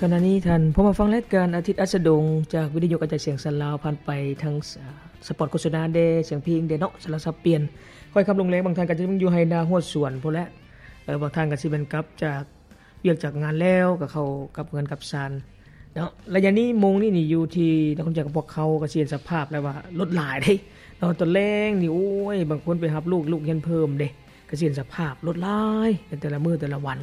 ຂະນະນີ້ທ່ານພວມມາຟັງລາຍການອາທິດອັດສະດົງ ຈາກວິທະຍຸກະຈາຍສຽງສານລາວ ຜ່ານໄປທາງສະ ສະປອດໂຄສະນາແດ່ ສຽງເພງແດ່ເນາະ ສາລະສັບປ່ຽນ. ຂ້ອຍຄຳລົງແລງ ບາງທ່ານກໍຊິຍັງຢູ່ໄຮ່ນາຮົ້ວສວນພຸ້ນແຫຼະ. ເອີ ບາງທ່ານກໍຊິແມ່ນກັບຈາກວຽກຈາກງານແລ້ວ ກໍເຂົ້າກັບເຮືອນກັບຊານເນາະ. ໄລຍະນີ້ໂມງນີ້ນີ້ຢູ່ທີ່ນະຄອນຫຼວງຂອງພວກເຮົາ ກໍຊິເຫັນສະພາບແລ້ວວ່າລົດຫຼາຍເດ້ເນາະ. ຕອນແລງນີ້ ໂອ້ຍ ບາງຄົນໄປຮັບລູກ ລູກຮຽນເພີ່ມເດ້ ກະຊິເຫັນສະພາບລົດຫຼາຍໃນແຕ່ລະມື້ແຕ່ລະວັນ.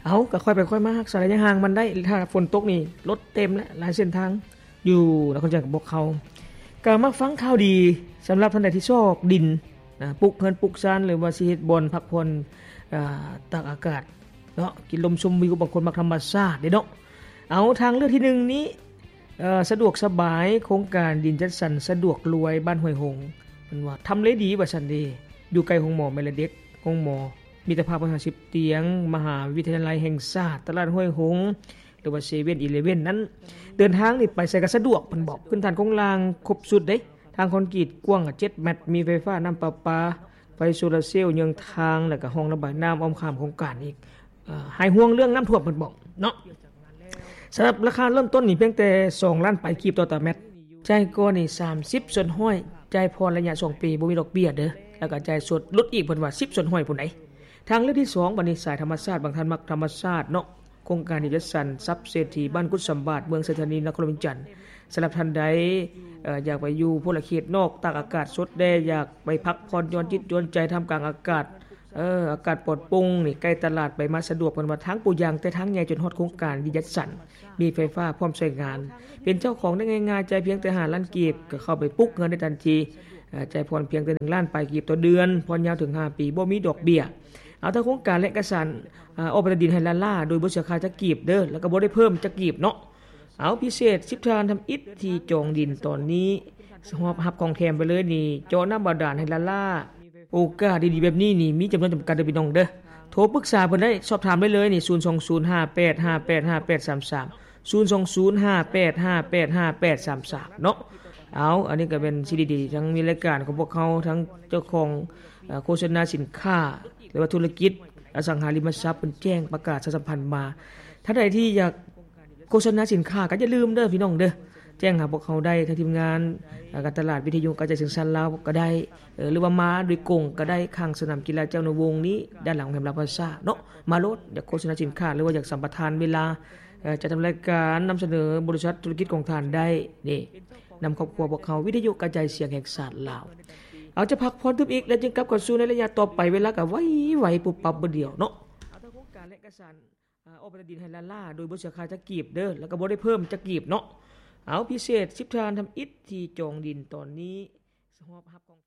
ເອົາ ກະຄ່ອຍໄປຄ່ອຍມາ ຮັກສາໄລຍະຫ່າງມັນໄດ້. ຖ້າຝົນຕົກນີ້ລົດເຕັມແຫຼະ ຫຼາຍເສັ້ນທາງຢູ່ນະຄອນຫຼວງຂອງພວກເຮົາ. ກະມາຟັງຂ່າວດີສຳລັບທ່ານໃດທີ່ຊອກດິນນະ ປຸກເຮືອນປຸກຊານ ຫຼືວ່າຊິເຮັດບ່ອນພັກຜ່ອນ ອາ ຕາກອາກາດເນາະ ກິນລົມຊົມວິວ. ບາງຄົນມັກທຳມະຊາດເດ້ເນາະ. ເອົາ ທາງເລືອກທີໜຶ່ງນີ້ ເອີ ສະດວກສະບາຍ ໂຄງການດິນຈັດສັນສະດວກລວຍ ບ້ານຫ້ວຍຫົງ ເພິ່ນວ່າທຳເລດີວ່າຊັ້ນເດ. ຢູ່ໃກ້ໂຮງໝໍແມ່ແລະເດັກ, ໂຮງໝໍມິດຕະພາບຮ້ອຍຫ້າສິບຕຽງ, ມະຫາວິທະຍາໄລແຫ່ງຊາດ, ຕະຫຼາດຫ້ວຍຫົງ ຫຼືວ່າເຊເວັນອີເລເວັນນັ້ນ. ເດີນທາງນີ້ໄປໃສກໍສະດວກ ເພິ່ນບອກ. ພື້ນຖານໂຄງລ່າງຄົບຊຸດເດ້ ທາງຄອນກຣີດກວ້າງເຈັດແມັດ, ມີໄຟຟ້າ, ນ້ຳປະປາ, ໄຟໂຊລາເຊວເຍືອງທາງ ແລ້ວກໍຮ່ອງລະບາຍນ້ຳອ້ອມຂ້າງໂຄງການອີກ. ເອີ ຫາຍຫ່ວງເລື່ອງນ້ຳຖ້ວມ ເພິ່ນບອກເນາະ. ສຳລັບລາຄາເລີ່ມຕົ້ນນີ້ພຽງແຕ່ສອງລ້ານປາຍກີບຕໍ່ຕາແມັດ, ຈ່າຍກ່ອນນີ້ສາມສິບສ່ວນຮ້ອຍ, ຈ່າຍຜ່ອນໄລຍະສອງປີ ບໍ່ມີດອກເບ້ຍເດີ, ແລ້ວກໍຈ່າຍສົດ ຫຼຸດອີກ ເພິ່ນວ່າສິບສ່ວນຮ້ອຍພຸ້ນໃດ. ທາງເລືອກທີສອງ ບັດນີ້ສາຍທຳມະຊາດ, ບາງທ່ານມັກທຳມະຊາດເນາະ. ໂຄງການທີ່ຈັດສັນຊັບເສດຖີບ້ານກຸດສຳບາດ ເມືອງໄຊທານີ ນະຄອນຫຼວງວຽງຈັນ. ສຳລັບທ່ານໃດ ເອີ ຢາກໄປຢູ່ພົນລະເຂດນອກ ຕາກອາກາດສົດແດ່, ຢາກໄປພັກຜ່ອນຢ່ອນຈິດຢ່ອນໃຈທ່າມກາງອາກາດ ເອີ ອາກາດປອດໂປ່ງນີ້ ໃກ້ຕະຫຼາດ ໄປມາສະດວກ ເພິ່ນວ່າທາງປູຢາງແຕ່ທາງໃຫຍ່ຈົນຮອດໂຄງການທີ່ຈັດສັນ ມີໄຟຟ້າພ້ອມໃຊ້ງານ. ເປັນເຈົ້າຂອງໄດ້ງ່າຍໆ ຈ່າຍພຽງແຕ່ຫ້າລ້ານກີບ ກໍເຂົ້າໄປປຸກເຮືອນໄດ້ທັນທີ. ເອີ ຈ່າຍຜ່ອນພຽງແຕ່ໜຶ່ງລ້ານປາຍກີບຕໍ່ເດືອນ, ຜ່ອນຍາວເຖິງຫ້າປີ, ບໍ່ມີດອກເບ້ຍ. ເອົາ ທາງໂຄງການແລະເອກະສານ ອາ ອອກໃບຕາດິນໃຫ້ລ້າໆ ໂດຍບໍ່ເສຍຄ່າຈັກກີບເດີ ແລ້ວກໍບໍ່ໄດ້ເພີ່ມຈັກກີບເນາະ. ເອົາ ພິເສດສິບທ່ານທຳອິດທີ່ຈອງດິນຕອນນີ້ ຮອບຮັບຂອງແຖມໄປເລີຍນີ້ ເຈາະນ້ຳບາດານໃຫ້ລ້າໆ. ໂອກາດດີໆແບບນີ້ນີ້ມີຈຳນວນຈຳກັດເດີພີ່ນ້ອງເດີ. ໂທປຶກສາເພິ່ນໄດ້ ສອບຖາມໄດ້ເລີຍນີ້ ສູນສອງສູນຫ້າແປດຫ້າແປດຫ້າແປດສາມສາມ ສູນສອງສູນຫ້າແປດຫ້າແປດຫ້າແປດສາມສາມເນາະ. ເອົາ ອັນນີ້ກໍເປັນສິ່ງດີໆ ທັງມີລາຍການຂອງພວກເຮົາ ທັງເຈົ້າຂອງ ເອີ ໂຄສະນາສິນຄ້າ ຫຼືວ່າທຸລະກິດອະສັງຫາລິມະຊັບ ເພິ່ນແຈ້ງປະກາດປະຊາສຳພັນມາ. ທ່ານໃດທີ່ຢາກໂຄສະນາສິນຄ້າ ກໍຢ່າລືມເດີພີ່ນ້ອງເດີ ແຈ້ງຫາພວກເຮົາໄດ້ ທາງທີມງານ ເອີ ການຕະຫຼາດວິທະຍຸກະຈາຍສຽງສານລາວກໍໄດ້ ເອີ ຫຼືວ່າມາໂດຍກົງກໍໄດ້ ຂ້າງສະໜາມກິລາແຈ້ວນະວົງນີ້ ດ້ານຫຼັງໂຮງແຮມລາວພາຊາເນາະ. ມາໂລດ ຢາກໂຄສະນາສິນຄ້າ ຫຼືວ່າຢາກສຳປະທານເວລາ ເອີ ຈັດທຳລາຍການນຳສະເໜີບໍລິສັດທຸລະກິດຂອງທ່ານໄດ້ເດ້. ນຳຄອບຄົວພວກເຮົາ ວິທະຍຸກະຈາຍສຽງແຫ່ງຊາດລາວ. ເອົາ ຈະພັກຜ່ອນຕື່ມອີກ ແລ້ວຈຶ່ງກັບເຂົ້າສູ່ໃນໄລຍະຕໍ່ໄປ. ເວລາກໍໄວໆ ປຸບປັບບຶດດຽວເນາະ. ເອົາ ທາງໂຄງການແລະເອກະສານ ອອກໃບຕາດິນໃຫ້ລ້າໆ ໂດຍບໍ່ເສຍຄ່າຈັກກີບເດີ ແລ້ວກໍບໍ່ໄດ້ເພີ່ມຈັກກີບເນາະ. ເອົາ ພິເສດສິບທ່ານທຳອິດທີ່ຈອງດິນຕອນນີ້ ຮອບຮັບຂອງ